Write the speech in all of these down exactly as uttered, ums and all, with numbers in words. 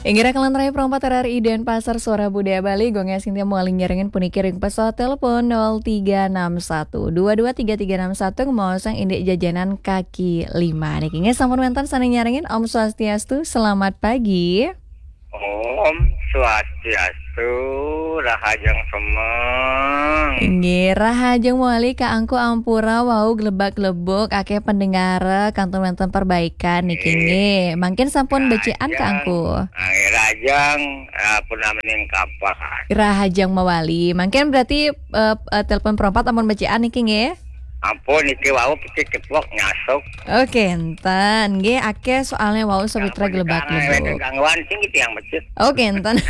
Inggih raka lan rai perempat R R I Denpasar, Suara Budaya Bali, Gung Esin Tiam Waling nyarengin puniki ring pesawat telepon nol tiga enam satu dua dua tiga tiga enam satu, ngemaosang indik jajanan kaki lima. Niki nggih sampun wenten sane nyarengin, Om Swastiastu, selamat pagi. Om Swastiastu, rahajeng semeng. Inggih, rahajeng mawali Kak Angku, ampura wau glebak-glebuk, akeh pendengar, kantun wenten perbaikan niki nggih. Mangkin sampun becik an Kak Angku. Nggih, rahajeng, eh, pun namening kapan. Rahajeng mawali. Mangkin berarti, eh, eh, telepon perempat ampun becik an niki nggih. Ampun, niki wau pecik cepok nyasuk. Oke, enten. Nggih, akeh soalnya wau sawitra glebak-glebuk. Gangguan sing gitu yang becik. Oke, enten.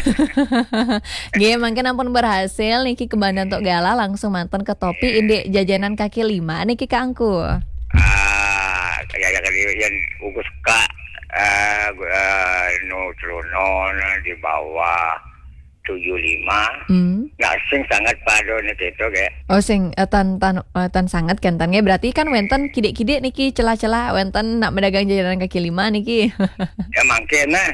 Nggih, mangkin ampun berhasil niki kebandan tok galah, langsung manten ke topi indik jajanan kaki lima niki Kak Angku. Ah, kaya kali yang ugus ka, eh, gu- eh, nu celana di bawah tujuh lima. Hmm. Nah, sing sangat pada niki itu, kayak. Oh, sing, eh, tan, tan, eh, tan sangat kenten nggih. Berarti kan wenten kidik-kidik niki celah-celah, wenten nak medagang jajanan kaki lima niki. Ya, mangkin nah.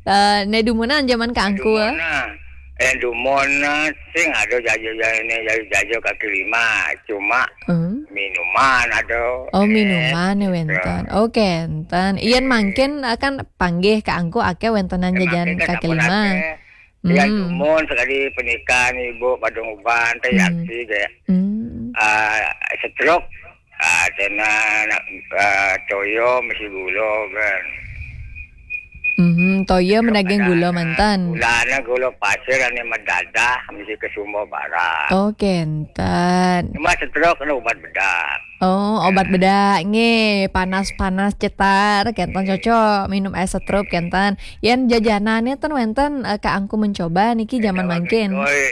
Eh, ne dumunan zaman Kak Angku. Dumunan. Eh, dumunan sing ada jajan ini, jajan, jajan kaki lima. Cuma Hmm. minuman ada. Oh, eh, minuman ya gitu. Wenten. Oke, enten. Yen mangkin, eh, kan panggih Kak Angku akeh wentenan jajan kaki lima. Sampun akeh. Ya, hmm. Dumun sekali pernikahan ibu padung uban teh. Hmm. Yaksi kayak. Hmm. Ah, stroke. Ah, cina nak, ah, toyo mesti gula kan. Mhm, toyo menaging gula mantan. Gulanya gula pasir ane mendadah mesti ke Sumba Barat. Oke, enten. Cuma stroke kena ubat bedak. Oh, obat bedak nggih, panas-panas cetar kenten cocok minum es setrup kenten. Yen jajanane ten wenten, eh, Kak Angku mencoba niki zaman mangkin. Oi,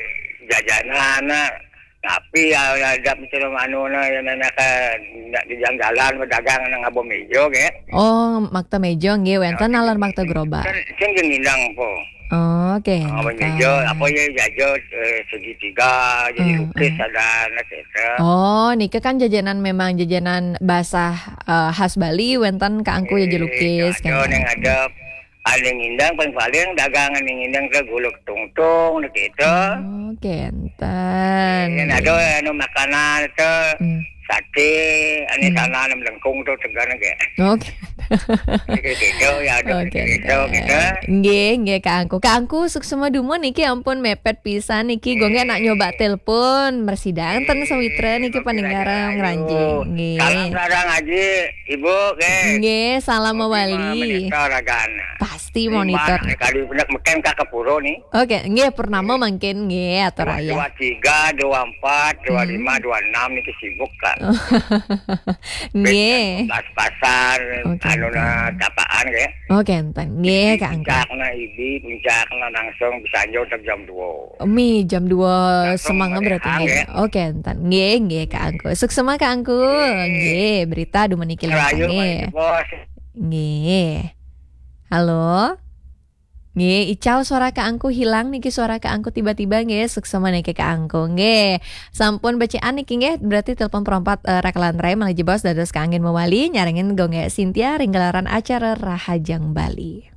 jajanan, nah, tapi ya, ya ada macam anu nah, yang nak di jalan-jalan berdagang nang abo mejo nggih. Oh, makta mejo nggih, wenten nalar makta gerobak. Kan sing ngindang po. Oh, oke. Apa ya, apa ya, jajo, eh, segitiga, jadi hmm, lukis hmm. Ada anak itu. Oh, nika kan jajanan, memang jajanan basah, eh, khas Bali, wenten Kak Angku ya, eh, jelukis kan. Ada yang ada, ada yang ngindang paling-paling dagangan yang ngindang ke guluk tungtung gitu. Oke, enten. Yang ada anu makanan itu. Hmm. Sate, ane hmm. Sana ane melengkung tuh tegar nggih. Oke. Gitu, gitu, ya, ada oke, gitu, oke. Gitu. Nggih, nggih, Kak Angku. Kak Angku, suksma dumun niki ampun mepet pisan niki. Gue nggih nak nyoba telepon, mersidang ten sawitra niki pendengar ngranjing. Nggih. Salam sareng Aji, Ibu, nggih. Nggih, salam mawali. Monitor ragana. Pasti monitor. Kali bener meken Kak Kepuro nih. Oke, nggih, purnama mangkin nggih, atur ayah. Dua tiga, dua empat, dua lima, hmm. Dua enam niki sibuk, Kak. Nggih. Pas-pasan, oke, anu, enten. Nah, tapaan, nggih. Oke, enten. Nggih, Kak Angku. Puncakna ibi, puncakna langsung bisa nyo jam dua. Mi, jam dua langsung semanga berarti, nggih. Oke, enten. Nggih, nggih, Kak Angku. Suksma, Kak Angku. Nggih. Nggih, berita dumun niki. Rahayu, lengkap, nggih. Bos. Nggih. Halo? Nggih, icau suara Kak Angku hilang niki, suara Kak Angku tiba-tiba nggih, suksma niki Kak Angku nggih. Sampun becikan niki nggih, berarti telepon perompat, eh, raka lan rai malih jebos dados kaanggén mawali nyarengin Gung Gek Sintia ring gelaran acara Rahajeng Bali.